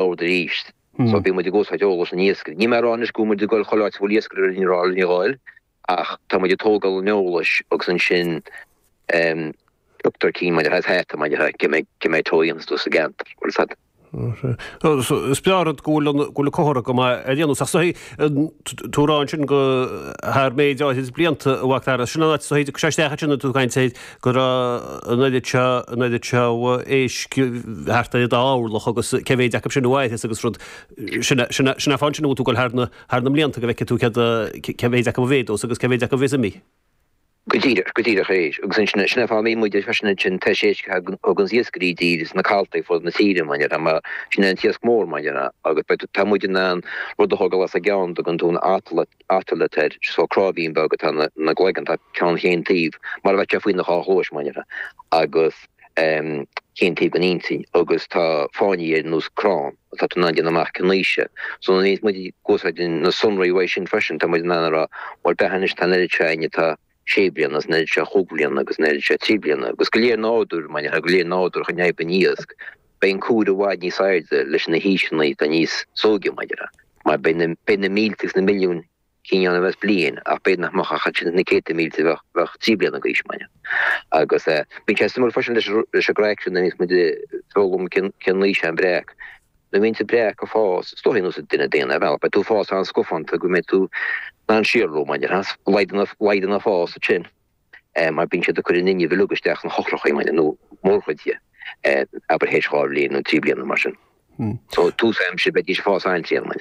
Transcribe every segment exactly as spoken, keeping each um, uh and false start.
bord arís. So bíonn muid ag úsáid eolas na n-iascairí. Níl mé ag rá anois go bhfuil muid ag dul chuile áit a bhfuil iascaire ar an rá ní gháil, ach tá muid ag tógáil an eolais agus ansin tugtar cinn maidir le hata maidir le cé mhéad tóigheanns tú sa gceantar. Bhfuil fhios a'd? Is breá rud go bhfuil go bhfuil comhartha go maith ar aon nós. Ach is dóigh tú ag rá ansin go thar méid áirid blianta a Mhac Dara. Sin an áit is dóigh sé isteach ansin tú ag caint air go raibh an oiread seo an oiread seo éisc thart ar an dá orlach agus cé mhéid acu sin a mhairfeas agus rud sin sin sin é fáth ansin a bhfuil tú ag dul thar na thar na mblianta go bhfeicfidh tú céard cé mhéid acu a mhéadós agus cé mhéid acu a bheas imithe. Go díreach, go díreach é. Agus ansin, sin é fáth a mbíonn muid freisin ansin tar éis a thugann iascairí i dtír sna caltaí fud na tíre, mar a mar sin é an t-iasc mór, mar a agus beidh tá muid in ann rud a thógáil as an gceann, dtugann tú an otolith air, so cráibhín beag atá ina gcloigeann, tá ceann chaon taobh, mar a bheadh sé faoina dhá chluais, mar a agus chaon taobh den intinn, agus tá fáinní ar nós crann, tá tú in ann déanamh amach cén aois é. So nuair a bhíonns muid ag úsáid na sonraí uaidh sin freisin, tá muid in ann a rá, bhuel b'fhéidir anois tá an oiread seo againn atá sé bliana, agus an oiread seo chúig bliana, agus an oiread seo trí bliana, agus go léir nádúr, mar go léir nádúr chun fhadhb an iasc, beidh an cuar i bhfad níos airde leis na haoiseanna atá níos sóige, mar mar beidh na, beidh na mílte agus na milliúin cinn ann a bheas bliain, ach b'fhéidir nach mbeadh ach ansin na céadta mílte a bheadh, bheadh trí bliana d'aois, mar agus eh, bíonn sé suimiúil freisin leis, leis an gcraic sin, nuair a bhíonns muid ag foghlaim cén, cén aois é an breac. Nuair a bhíonn an breac ag fás, is dóigh ar nós duine daonna ar bhealach, beidh tú ag fás an-scafánta go mbeidh tú in ann síothlú, mar a déarfá, laghdaíonn an fás ansin mar bíonn siad ag cur an fhuinneamh uilig isteach sna heochracha, mar nó mórchuid de, abair théis dhá bhliain nó trí bliana mar sin. So tús aimsire beidís ag fás an-tréan, mar.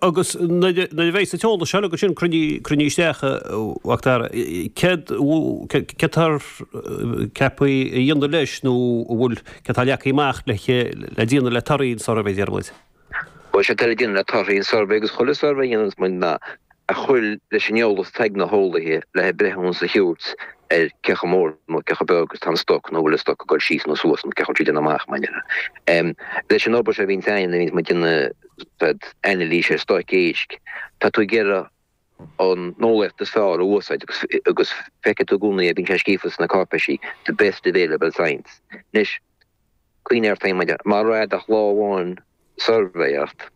Agus nuair a bheidh an t-eolas seo agat sin cruinnithe isteach, a Mhac Dara, céard céard atá ceaptha a dhéanamh leis nó an bhfuil céard atá leagtha amach le le déanamh le torthaí an suirbhé, deir muid? Bhuel, sé atá le déanamh le torthaí an suirbhé agus chuile suirbhé a dhéananns muid ná a chur leis an eolas atá ag na heolaithe le breithiúnas a thabhairt ar cé chomh mór nó cé chomh beag is atá an stoc nó bhfuil an stoc ag dul síos nó suas nó cé chomh tríd amach mar déarfá. Leis an obair seo a bhíonns againn a bhíonns muid ag déanamh anailís ar stoic éisc, tá tú ag iarraidh an eolaíocht is fearr a úsáid agus agus feicfidh tú i gcónaí, bíonn sé scríofa sna cáipéisí, the best available science. Anois, cuimhnigh ort féin, má raibh ach lá amháin suirbhé ort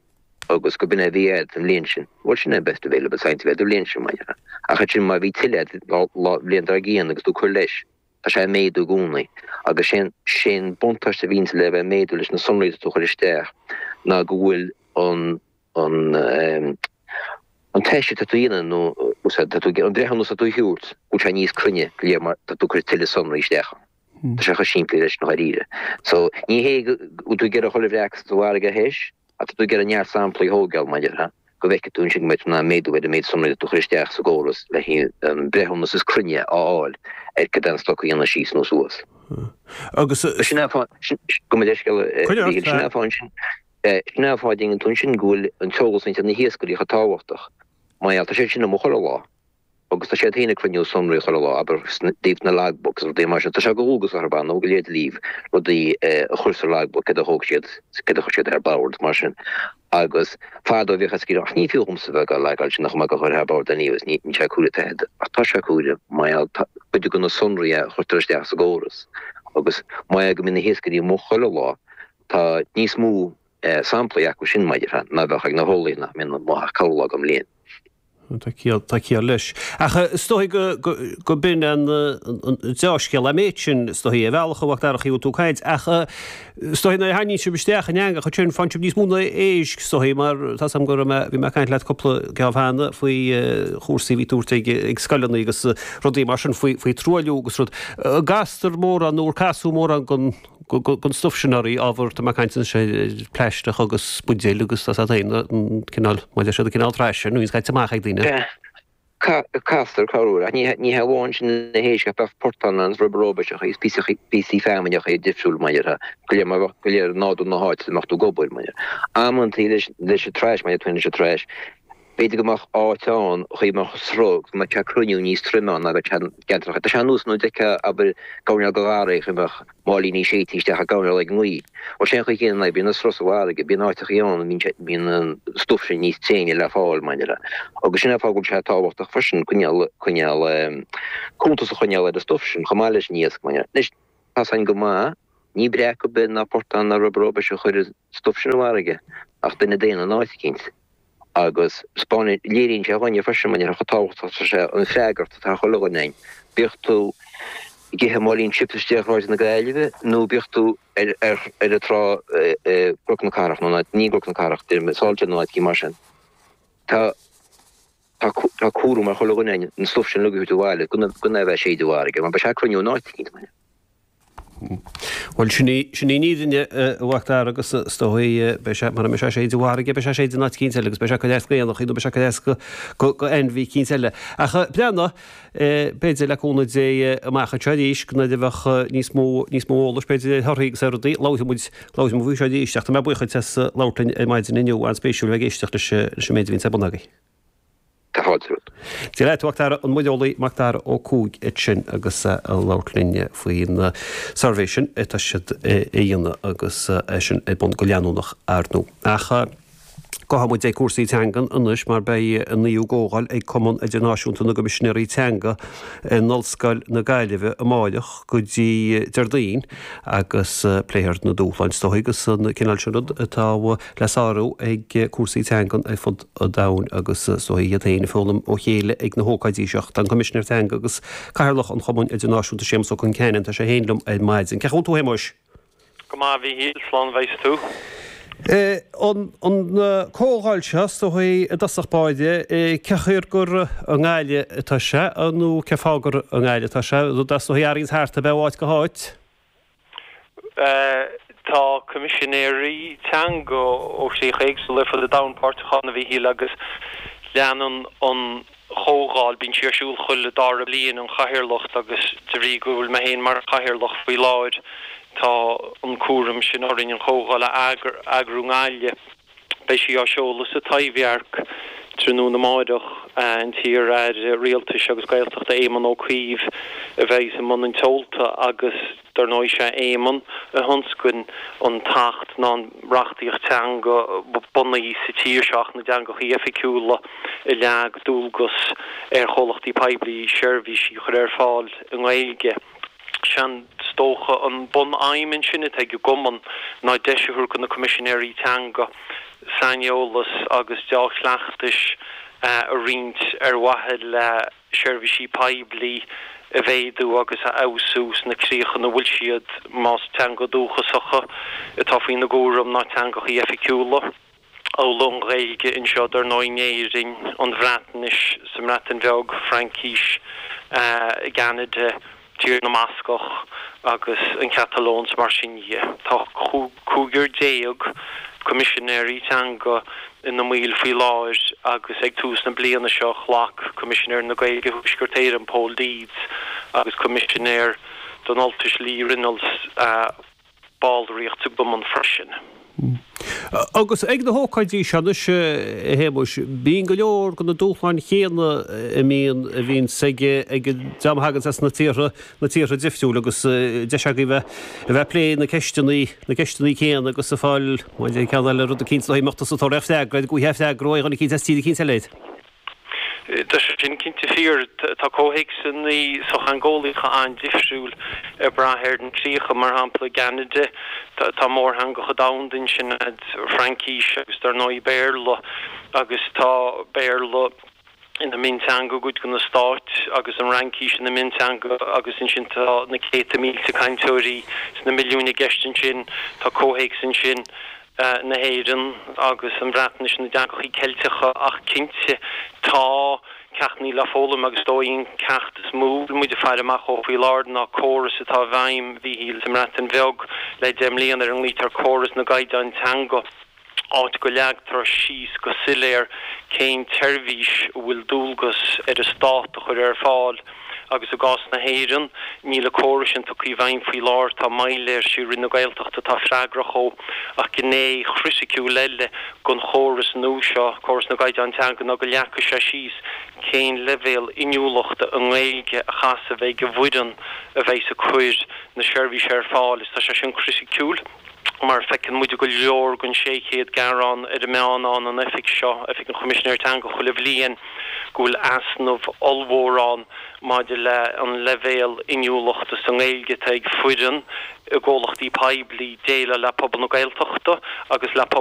agus go b'in é a bhí agat an bhliain sin, bhuel sin é an best available science a bhí agat an bhliain sin, mar déarfá. Ach ansin má bhí tuilleadh agat an bhliain dár gcionn agus tú ag cur leis, tá sé ag méadú i gcónaí. Agus sé sé an buntáiste a bhíonns le bheith ag méadú leis na sonraí atá tú a chur isteach ná go bhfuil an an an teist atá tú a dhéanamh nó úsáid tá tú an breithiúnas atá tú a thabhairt, go bhfuil sé níos cruinne go léir mar tá tú ag cur tuilleadh sonraí isteach ann. Tá sé chomh simplí leis sin dháiríre. So, ní hé go bhfuil tú ag iarraidh chuile bhreac sa bhfarraige a thomhas, ach tá tú ag iarraidh neart samplaí a thógáil, mar a déarfá, go bhfeicfidh tú ansin go mbeidh tú in ann méadú ar an méid sonraí atá tú a chur isteach sa gcóras le haghaidh an breithiúnas is cruinne a fháil ar cad é an stoc a dhéanann síos nó suas. Agus. Sin é an fáth, gabh mo leithscéal, a Mhíchíl, sin é an fáth ansin, sin é an fáth a dtuigeann tú ansin go bhfuil an t-eolas ag na hiascairí chomh tábhachtach. Mar gheall, tá siad sin amuigh chuile lá. Agus tá siad féin ag cruinniú sonraí chuile lá, abair, i dtaobh na logbooks agus rudaí mar sin. Tá sé de dhualgas orthu, ar ndóigh, go léir díobh rudaí a chur sa logbook, céard a thóg siad, céard a chuir siad ar bord, mar sin. Agus fadó bhíodh iascairí ag rá, ach ní fiú dhomsa bheith ag logáil sin, nach mbeadh a chur thar bord anyway, níl sé ag cur taifead. Ach tá sé ag cur, mar gheall, cuid de na sonraí a chuirtear isteach sa gcóras. Agus mar gheall go mbíonn na hiascairí amuigh chuile lá, tá níos mó samplaí acu sin, mar a déarfá, ná bheadh ag na heolaithe nach mbíonn amuigh ach corrlá den mbliain. Tá ciall, tá ciall leis. Ach is dóigh go, go, go b'in an, an dea-scéal an méid sin, is dóigh, ar bhealach a Mhac Dara, chaoi a bhfuil tú ag caint. Ach is dóigh nuair a tharraingíonn sibh isteach an eangach ansin, faigheann sibh níos mó ná éisc, is dóigh, mar tá 's agam go raibh mé, bhí mé ag caint leat cúpla geábh cheana faoi chúrsaí a bhí tabhairt ag, ag scoileanna agus rudaí mar sin faoi, faoi truailliú agus rud. An gcastar mórán nó ar casadh mórán den, den stuif sin oraibh, ábhar, tá mé ag caint anois ar plaisteach agus buidéil agus tá 's agat féin, an cineál, mar a deir siad, an cineál trash sin a bhíonns caite amach ag daoine. Sea, castar corruair, ach ní ní hé amháin sin na héisc ach bheadh portáin ann, rubber róbaiseacha agus píosaí píosaí feamainneacha difriúil mar a déarfá, go léir mar bheadh go léir nádúr na háite a mbeadh tú ag obair mar a déarfá. Amantaí leis leis an trash mar a déarfá leis an trash, b'fhéidir go mbeadh áit ann chaoi a mbeadh sruth, go mbeadh sé cruinniú níos troime ann ná bheadh sé i gceantracha. Tá sé ar nós nuair a d'fheicfeá, abair, coirnéal de gharraí chaoi a mbeadh máilíní séidte isteach i gcoirnéal ag an ngaoth. Bhuel, sé an chaoi chéanna a bhíonn an sruth sa bhfarraige, bíonn áiteachaí ann a mbíonn sé, bíonn an stuif sin níos tréine le fáil, mar a déarfá. Agus sin é an fáth go bhfuil sé tábhachtach freisin coinneáil, coinneáil, cuntas a choinneáil ar an stuif sin chomh maith leis an iasc, mar a déarfá. Anois, tá 's againn go maith, Ní breac ar bith ná portán ná rubber beidh sé chuir stuif sin an fharraige ach duine daonna in áit eicínt. Agus spáineann, léiríonn sé dhúinne freisin mar chomh tábhachtach atá sé an freagairt atá chuile dhuine againn. Bíodh tú ag ithe máilín chips istigh ar Shráid na Gaillimhe nó bíodh tú ar ar ar an trá i gCnoc na Cathrach nó ní gCnoc na Cathrach, Salthill nó áit eicínt mar sin. Tá tá tá cúram ar chuile dhuine againn an stuif sin uilig a thabhairt abhaile gan gan é a bheith ag séideadh i bhfarraige mar beidh sé ag cruinniú in áit eicínt. Bhuel, sin í, sin í an fhírinne, a Mhac Dara, agus is dóigh, beidh sé, mura mbeidh sé ag séideadh i bhfarraige, beidh sé ag séideadh in áit eicínt eile agus beidh sé ag cur as d'aonach nó beidh sé ag cur as go, go, go ainmhí eicínt eile. Ach breathnaigh, b'fhéidir le cúnamh Dé amach anseo arís, go nuair a bheadh níos mó, níos mó eolais, b'fhéidir, ar thorthaí agus ar rudaí, labharfaidh muid, labharfaidh muid faoi seo arís. Ach tá mé buíoch duit as labhairt linn ar maidin inniu, an-spéisiúil a bheith ag éisteacht leis, leis an méid a bhíonns ar bun agaibh. Tá fáilte romhat. Dia leat, a Mhac Dara, an muireolaí Mac Dara Ó Cuaig ansin agus ag labhairt linn faoin suirbhé sin atá siad a dhéanamh agus é sin ar bun go leanúnach ar ndóigh. Ach gabhfaidh muid ag cúrsaí teangan anois mar beidh an naoú comhdháil ag Cumann Idirnáisiúnta na gCoimisinéirí Teanga in Ollscoil na Gaillimhe amáireach go dtí Déardaoin agus pléifear na dúshláin is dóigh agus an cineál sin rud atá le sárú ag cúrsaí teangan ar fud an domhain agus is dóigh iad féin ag foghlaim ó chéile ag na hócáidí seo. Tá an Coimisinéir Teanga agus Cathaoirleach an Chumainn Idirnáisiúnta Séamus Ó Concheanainn, tá sé féin liom ar maidin. Cén chaoi a bhfuil tú, a Shéamuis? Go maith, a Mhíchíl, slán a bheas tú. An comhdháil seo, is dóigh, i dtosach báire, cén chaoi gur i nGaillimh atá sé nó cén fáth gur i nGaillimh atá sé, rud is dóigh a athraíonns thart ar bith ó áit go háit? Tá coimisinéirí teanga ó chríocha éagsúla ar fud an domhain páirteach ann, a Mhíchíl, agus leanann an chomhdháil, bíonn sí ar siúl chuile dara bliain, an chathaoirleacht agus de bhrí go bhfuil mé féin mar chathaoirleach faoi láthair, tá an cúram sin orainn an chomhdháil a eagrú i nGaillimh. Beidh sí á seoladh sa Taibhdhearc tráthnóna amáireach. An t-iar-aire Rialtais agus Gaeltachta Éamon Ó Cuív a bheidh i mbun an tseolta agus dar ndóigh sé Éamon a thionscain an tAcht ná an reachtaíocht teanga ba bunaí sa tír seo, Acht na dTeangachaí Oifigiúla, a leag dualgas ar chomhlachtaí poiblí seirbhísí a chur ar fáil i nGaeilge. Sé'n is dócha an bun-aidhm ansin atá ag an gCumann ná deis a thabhairt do na Coimisinéirí Teanga saineolas agus deá-chleachtais a roinnt ar mhaithe le seirbhísí poiblí a mhéadú agus a fheabhsú sna críocha ina bhfuil siad, más teanga dúchasacha atá faoina gcúram ná teangachaí oifigiúla. Amhail an Ghaeilge anseo, dar ndóigh, in Éirinn, an Bhreatnais sa mBreatain Bheag, Fraincis i gCeanada, Tír na mBascach agus an Chatalóin 's mar sin dhe. Tá cúigear déag Coimisinéirí Teanga ina mbaill faoi láthair agus ag tús na bliana seo ghlac Coimisinéir na Gaeilge Thuaisceart Éireann, Pól Deeds, agus Coimisinéir don Ultais Lee Reynolds ballraíocht sa gCumann freisin. Agus ag na hócáidí seo anois, a Shéamuis, bíonn go leor de na dúshláin chéanna a mbíonn, a bhíonns ag, ag an dream a thaganns as na tíortha, na tíortha difriúil agus deis agaibh a bheith, a bheith ag plé na ceisteanna, na ceisteanna céanna agus ag fáil, bhuel, ceann eile, rud eicínt, is dóigh, mbeadh tusa ag tabhairt freagra air, go bhfaighfeá freagra ó dhuine eicínt as tír eicínt eile air. Tá sé sin cinnte fíor. Tá comhthéacsanna sochtheangeolaíocha an-difriúil ag brath ar na críocha. Mar shampla, i gCeanada, tá mórtheangacha domhanda ansin, Fraincis agus dar ndóigh Béarla, agus tá Béarla ina mionteanga i gcuid de na stáit agus an Fhraincis ina mionteanga agus ansin tá na céadta mílte cainteoirí sna milliúin i gceist ansin. Tá comhthéacs ansin. na hÉireann agus an Bhreatnais, na dteangachaí Ceilteacha ach cinnte tá ceachtannaí le foghlaim agus is dóigh an ceacht is mó a bhfuil muid ag faire amach dhó faoi láthair ná córas atá i bhfeidhm, a Mhíchíl, sa mBreatain Bheag le deich mbliana ar a nglaoitear córas na gcaighdeán teanga, áit go leagtar síos go soiléir cén tseirbhís a bhfuil dualgas ar an stát a chur ar fáil. Agus i gcás na hÉireann, níl an córas sin tugtha i bhfeidhm faoi láthair, tá moill air, sí Roinn na Gaeltachta atá freagrach dhó. Ach gné chriticiúil eile den chóras nua seo, córas na gcaighdeán teanga, ná go leagfaidh sé síos cén leibhéal inniúlachta i nGaeilge a chaithfeas a bheith ag an bhfoireann a bheidhs ag cur na seirbhíse ar fáil. Is tá sé sin criticiúil. Mar feiceann muid go leor den sé chéad gearán ar an meán ann an oifig seo, Oifig an Choimisinéir Teanga, chuile bhliain, go bhfuil easnamh ollmhór ann maidir le an leibhéal inniúlachta sa nGaeilge atá ag foireann i gcomhlachtaí poiblí déileáil le pobal na Gaeltachta agus le pobal